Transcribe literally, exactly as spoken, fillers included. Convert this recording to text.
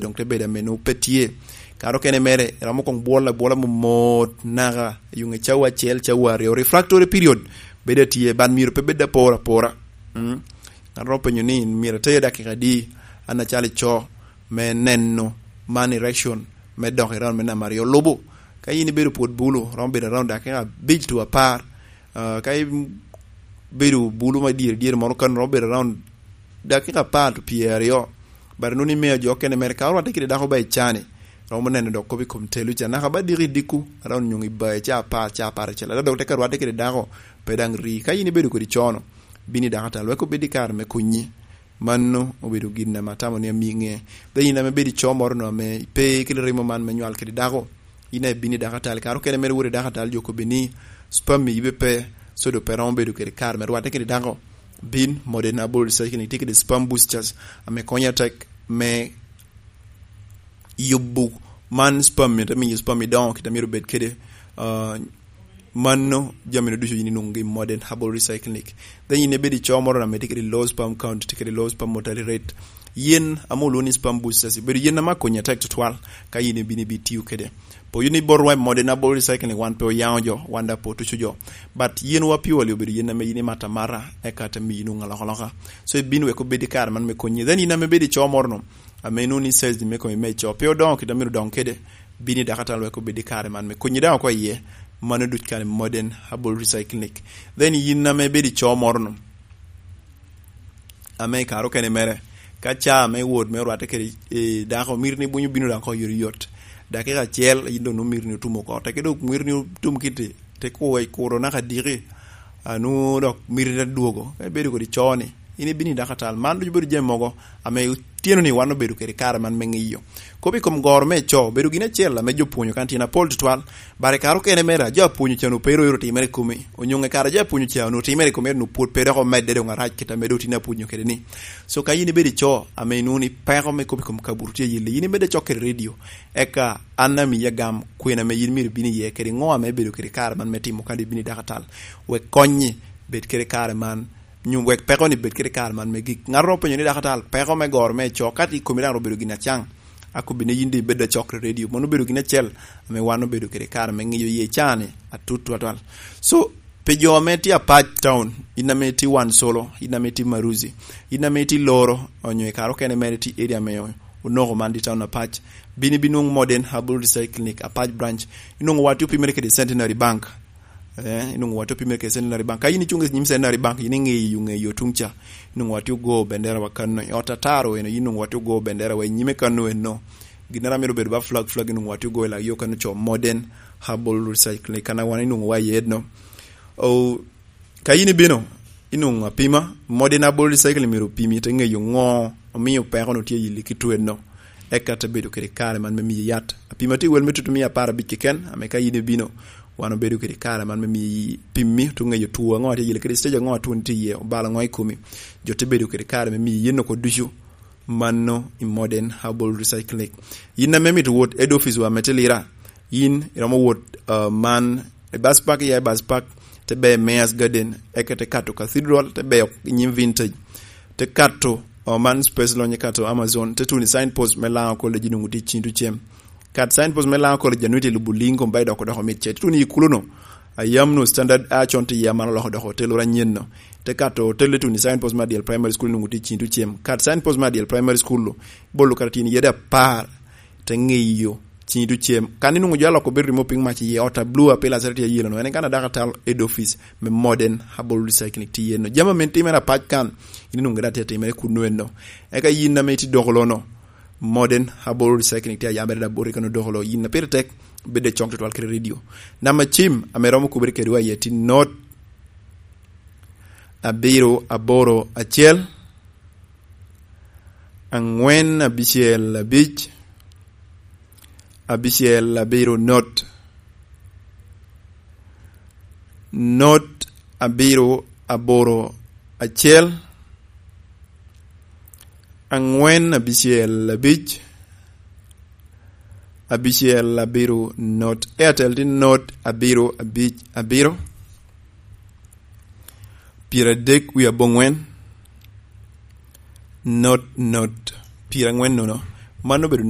doŋ te bedo ame nwoŋo pe tye. Kare okene mere, romo koŋ bwolo abwola momot naka, i yuŋe cawa acel, cawa aryo, refractory period bedo atye, but myero pe bed apor apora. Mm. Ŋat romo penyo ni, "Myero ateyo dakika adi, an acalo ico, me neno man erection me dok i round me namba aryo?" Lubo, ka in ibedo pwod bulu, romo bedo around dakika abic to apar. Ah, ka ibedo bulu ma dyere dyere moro kan, romo bedo around dakika apar to pyeraryo. But nwoŋo ni miyo jo okene mere ka orwatte kede dako ba i cani, romo neno dok kop i kom telu ca. Naka ba diki i dikku, around nyoŋ i baye ca apar, ca apar acel. Ada dok te ka rwatte kede dako, pe daŋ ri. Ka in ibedo kodi cono, bini dakatal, wek obed i kare me konyi. Mano obedo gin ame atamo ni amiŋe. Then in ame bedo i co moro no ame pe kede remo man me nywal kede dako, in aye bini dakatal. Kare okene mere wot i dakatal, jo kobbi ni, "Sperm ibe pe, so do pe romo bedo kede kare me rwatte kede dako." Bin, modern herbal recycling tye kede sperm boosters ame konyo atek me yubo man sperm, te miyo sperm idoŋo kit a myero obed kede. Ah, mano jami no ducu yin inwoŋogi i modern herbal recycling. Then yin ibedo i co moro ame tye kede low sperm count, tye kede low sperm mortality rate. Yen ame olwoŋo ni sperm boosters, obedo yen ame akonyi atek tutwal ka yin ibino ibitiyo kede. Pwod ni botwa i modern herbal recycling, wan pe oyaŋo jo, wan daŋ pe otuco jo. But yen wa purely obedo yen ame yin imato amata, eka te miyo inwoŋo alokaloka. So ibino wek obed i kare man me konyi. Then yin ame ibedo i co moro no, ame inwoŋo ni size me komi me co pe odoŋo kit a myero odoŋ kede, bini dakatal wek obed i kare man me konyi daŋ oko iye. Mano duc kare modern herbal recycling. Then yin ame ibedo i co moro no, ame i kare okene mere, ka ca me wot me orwatte kede, eh, dako, mito ni bunyo bino daŋ oko yot yot. Dakika acel, yin doŋ nwoŋo mito ni otum oko. Teke doŋ mito ni otum kiti, te kuwe kuro naka diki, a, nwoŋo dok mito ni dwogo. Ka ibedo kodi co ni, in ibino i dakatal. Man ducu bedo jami mogo ame otyeno ni wan obedo kede kare man me ŋiyo. Kop i kom goro me co, obedo gin acel ame jo pwonyo kan tyen apol tutwal. But i kare okene mere, a jo apwonyo ca onwoŋo pe ero ero timere i komi. Onyoŋe kare a jo apwonyo ca onwoŋo timere i komi, ero onwoŋo pwod pe dok omedde doŋ arac kit ame doŋ tin apwonyo kede ni. So ka yin ibedo i co ame inwoŋo ni peko me kop i kom kabuto tye i yelli, yin imedde cok kede redio. Eka an amiyi agam kwena ame yin myero ibin iye kede ŋo ame ibedo kede kare man me timo ka doŋ ibino i dakatal. Wek konyi bed kede kare man, nyo wek peko ni bed kede kare man me gik. Ŋat romo penyo ni, "Dakatal, peko me goro me co, ka tye i komi daŋ obedo gin acaŋ?" Akobbi ni yin doŋ ibed acok i redio. Mano obedo gin acel ame wan obedo kede kare me ŋiyo iye cani atut twatwal. So, pi jo ame tye apac town, in ame itye wan solo, in ame itye Maruzi, in ame itye Loro, onyo i kare okene mere itye area ame onoko man di town apac, bini binwoŋo modern herbal recycling apac branch. Inwoŋo watye opimere kede Centenary Bank. Eh, inwoŋo watye opimere kede Centenary Bank. Ka in icuŋ i nyim Centenary Bank, in iŋeyo, ŋeyo tuŋ ca. Inwoŋo watye ogo bendera wa kano. I ot ataro eno, in inwoŋo watye ogo bendera wa i nyime kano eno. Ginnara myero obed ba flag, flag inwoŋo watye ogo i lak yo kano co modern herbal recycling. Kana wan inwoŋo wa iye no. O, ka in ibino, inwoŋo apima, modern herbal recycling myero opimi, te ŋeyo ŋo omio peko no tye i yilli ki tweno. Eka te bedo kede kare man me miyi yat. Apima tye wel me tutu mia apar abic keken, ame ka in ibino, wan obedo kede kare man me miyi pimmi, otu ŋeyo two aŋo atye yele kede, stage aŋo atwoni tye iye, obalo aŋo i komi. Jo te bedo kede kare me miyi yen oko ducu. Mano i modern herbal recycling. Yin ame mito wot head office wa me te Lira, yin iromo wot, uh, man i bus park, ya i bus park, te be Mayor's Garden, eka te kato Cathedral, te be i nyim Vintage, te kato, uh, man space lonye kato Amazon, te tuno i signpost me Lango College, inwoŋo tye i Cing Tucem. Kat signpost me Lango College, anwoŋo tye i lubo Lingo, ba idoko doko mit ce. Te tuno i kulo no, a yam no standard a con tye iye, a man oloko doko hotel oro anyen no. Te kato hotel, te tuno i signpost me Adyel Primary School, inwoŋo tye i Cing Tucem. Kat signpost me Adyel Primary School lo, bolo kara tyen yede apar, te ŋeyo Cing Tucem. Kan inwoŋo jo aloko bedo remo piny mac iye, ot a blue a pilas tye ayelo no, en kan adaka tal head office me modern herbal recycling tye iye no. Jami ame timere apac kan, in inwoŋo gire atye atimere kuno eno. Eka yin ame itye doko lo no, modern herbal recycling tye ayabere da boti kano doko lo. Yin a pire tek, bedde cok tutwal kede redio. Namba cim ame romo kubere kedwa iye tye not abiro aboro acel, angwen abicel abic, abicel abiro not, not abiro aboro acel, angwen abicel abic, abicel abiro not. Airtel tye not abiro abic abiro, pyeradek wie abongwen, not not, pyerangwen nono, Mano obedo